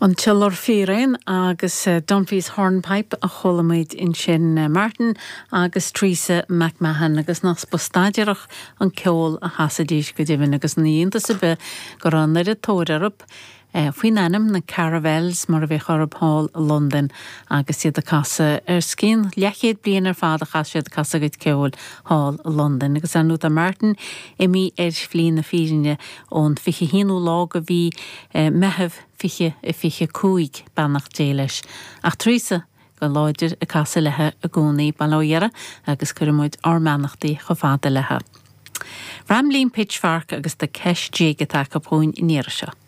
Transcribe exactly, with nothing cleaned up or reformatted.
An tIolar Fíréan agus eh, Dunphy's Hornpipe a chuala muid ansin eh, Martin agus Teresa McMahon agus nach spástaidireach an ceol a chasaidís go deimhin agus ní hiontas ar bith go raibh an oiread tóir orthu eh, faoin ainm na Caravelles mar a bhí orthu thall i Londain agus iad ag casadh ar scian leathchéad bliain ar fad a chas siad casadh a gcuid ceoil thall i Londain agus ar ndóigh tá Martin imithe ar shlí na fírinne ón fiche haonú lá de mhí Meitheamh fiche a fiche cúig beannacht Dé leis. Ach Teresa go láidir ag casadh léi i gcónaí bail ó Dhia uirthi agus cuirimid ár mbeannachtaí chomh fada léi. Ramblin' Pitchfork agus The Kesh Jig atá acu chugainn an iarraidh seo.